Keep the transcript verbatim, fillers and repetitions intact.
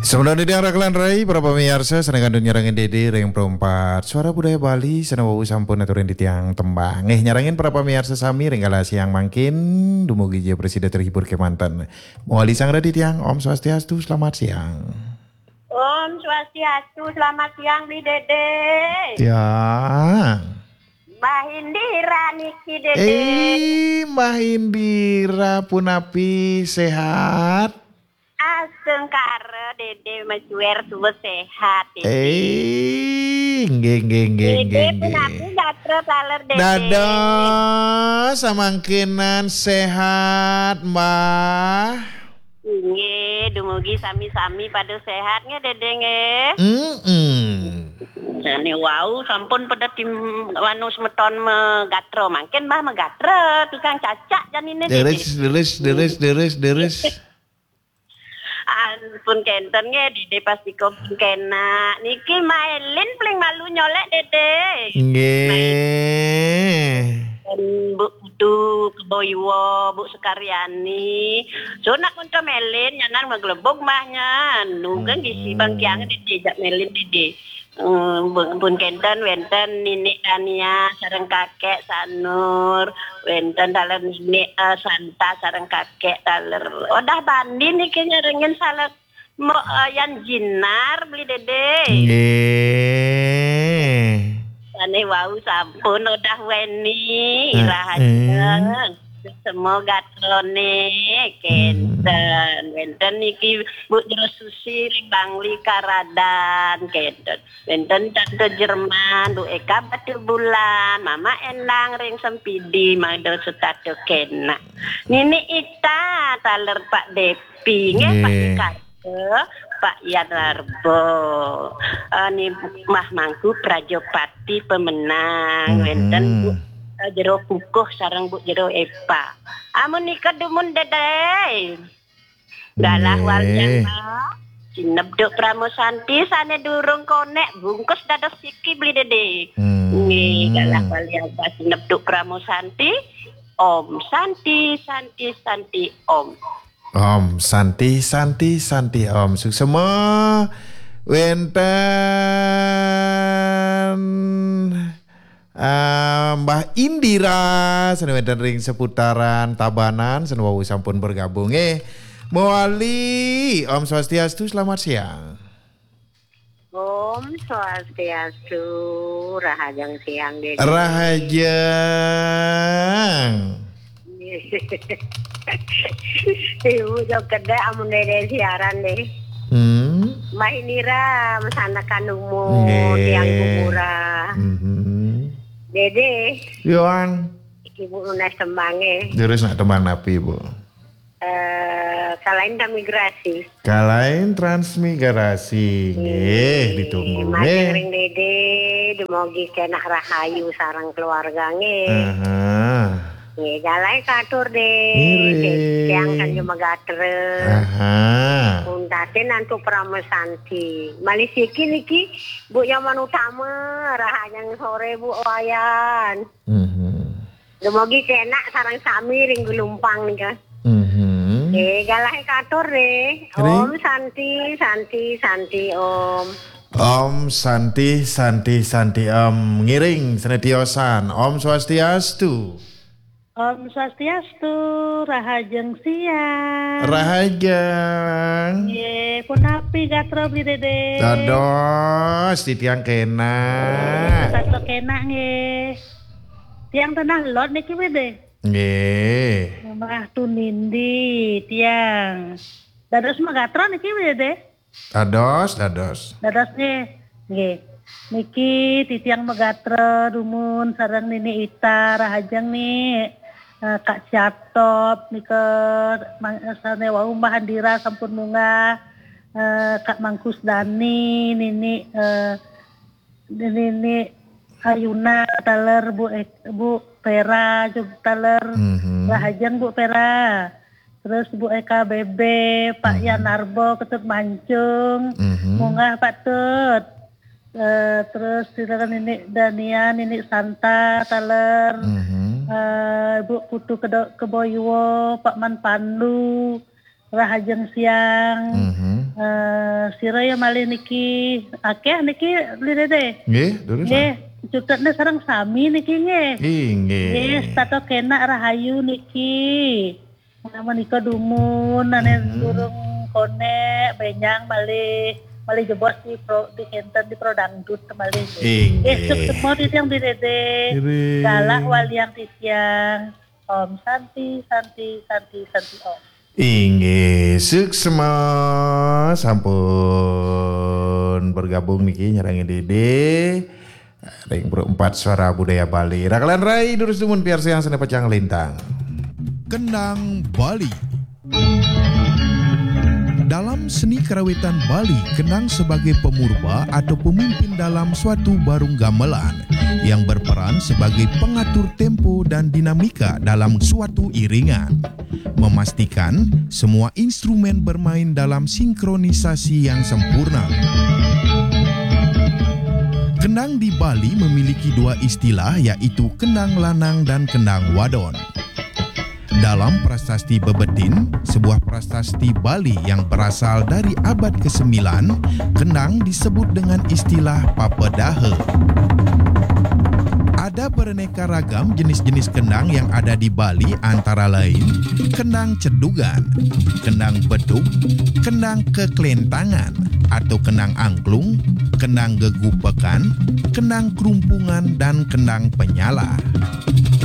Sampun titiang rakelan rai, para pamiarsa, sané kantun nyarengin Dédé ring Pro empat Suara Budaya Bali, sané wau sampun aturin titiang tembang. Nggih, nyarengin para pamiarsa sami ring galah siang mangkin, dumugi ja prasida terhibur kémanten. Mawali sang titiang, Om Swastiastu, selamat siang. Om Swastiastu, selamat siang, Bli Dédé. Ya. Mbah Indira niki, Dédé. Eh, Mbah Indira, punapi, sehat? Astungkara, Dédé, majuwer suba sehat, Dédé. Eh, nggih, nggih, nggih, Dédé, nggih, nggih. Punapi gatra taler, Dédé? Dados, samangkinan sehat, Mbah. Nggih, dumugi sami-sami pada sehat nggih, Dédé nggih. Mm-mm. Jane wau sampun pada tim anu semeton megatra, mangkin Mbah megatra, tukang cacak janine, Dédé. Deres, deres, deres, deres, deres. Ampun kenten nggih, Dédé pasti pun kenak. Niki Mailin paling malu nyolek, Dédé. Nggih. Mailin, Bu Putu, Kebo Iwa, Bu Sekaryani. Sunak untuk Mailin, nyanan maglebug mahnya. Nunggang gisi bang kiang, Dédé, jak Mailin, Dédé. Eh, pun, pun kenten, wenten Ninik Tania sareng Kakek Sanur, wenten taler Ninik, eh, Santa sareng Kakek taler. Odah bandi niki nyarengin salah mo, eh, Yan Jinar, Bli Dédé. Nggih. Sane wau sampun odah weni, eh, rahajeng. Semoga trone kenten. Wenten niki Bu Jero Susi ring Bangli Karadan kenten. Wenten Tante Jerman, Bu Eka Batu Bulan, Mama Endang ring Sempidi, mangda setata kena. Nini Ita, taler Pak Depi, nggih, Pak Depi. Pak Yan Larbo. Eh, ni Mah Mangku Prajapati pemenang. Wenten Bu, eh, Jero Kukuh sareng Bu Jero Epa. Amun nika dumun, Dédé. Galah walian, Mbah. Sinebduk Pramusanti sane durung konek bungkus dados siki, Bli Dédé. Nggih, galah walian, Mbah, Sinebduk Pramusanti. Om Santi, Santi, Santi, Om. Om Santi, Santi, Santi, Om. Suksema wenten, eh, Mbah Indira, sane wenten ring seputaran Tabanan, sane wau sampun bergabung. Eh, mawali, Om Swastiastu, selamat siang. Om Swastiastu, rahajeng siang, Dédé. Rahajeng. Ibu jog kedek amun Dédé siaran deh. Hmm. Mbah Indira, masanekan umur, nggih, tiang gumurah. Mhm. Dédé. Yoan. Ibu nunas tembange. Terus nak tembang napi, Bu? Eh, Kalain Transmigrasi. Kalain Transmigrasi, nggih, ditunggu, matur nggih. Ring Dédé, dumogi kenak rahayu sareng keluarga, nggih. Aha. Nggih, galah katur, Dé. Ngiring. Tiang Sanju Megatra. Aha. Untatin antuk Pramusanti. Malih siki niki, Bu Nyoman Utama, rahajeng sore, Bu Wayan. Mhm. Dumogi kenak sareng sami ring Gelumpang nika. Mhm. Eh, galah katur, Dé. Ring. Om Santi, Santi, Santi, Om. Om Santi, Santi, Santi, Om. Ngiring sane tiosan. Om Swastiastu. Om Swastiastu, rahajeng siang. Rahajeng. Nggih, punapi gatra, Bli Dédé? Dados, titiang kenak. Sato kenak, nggih. Tiang tenah lot niki, Bli Dédé. Nggih. Mbah Tunindi, tiang. Dados magatra niki, Bli Dédé? Dados, dados. Dados nggih. Nggih. Niki titiang magatra dumun sareng Nini Ita, rahajeng, Ni. Eh, Kak Ciatop nika, mang-, sane wau Mbah Andira sampun munggah. Eh, Kak Mangkus Dani, Nini, eh, Nini Ayuna taler, Bu Ek-, Bu Vera juga taler. Mhm. Rahajeng, Bu Vera. Terus Bu Eka Bebe, Pak Yan Narbo, Ketut Mancung, munggah Pak Tut. Eh, terus silakan Nini Dania, Nini Santa, taler. Eh, Bu Putu Kedo-, Keboiwo, Pak Man Pandu, rahajeng siang. Eh, sira ya malih niki, akeh niki, Beli Dede. Nggih, durus. Nggih, cutetne sareng sami niki nggih. Inggih. Nggih, setata kenak rahayu niki. Nah, menika dumun ane Mhm. durung konek, benjang malih, malih jebos di pro, di kenten di Pro Dangdut malih. Inggih. Nggih, suksma titiang Beli Dede. Nggih. Galak waliang titiang. Om Santi, Santi, Santi, Santi Om. Inggih, suksma sampun bergabung niki nyarengin Dede ring Pro Empat Suara Budaya Bali. Rakalan rai durus dumun piarsayang sane pacang lintang. Kendang Bali. Dalam seni karawitan Bali, kendang sebagai pemurba atau pemimpin dalam suatu barung gamelan yang berperan sebagai pengatur tempo dan dinamika dalam suatu iringan. Memastikan semua instrumen bermain dalam sinkronisasi yang sempurna. Kendang di Bali memiliki dua istilah, yaitu kendang lanang dan kendang wadon. Dalam prasasti Bebetin, sebuah prasasti Bali yang berasal dari abad kesembilan, kendang disebut dengan istilah papedaha. Ada beraneka ragam jenis-jenis kendang yang ada di Bali, antara lain kendang cedugan, kendang beduk, kendang keklentangan atau kendang angklung, kendang gegupekan, kendang kerumpungan, dan kendang penyala.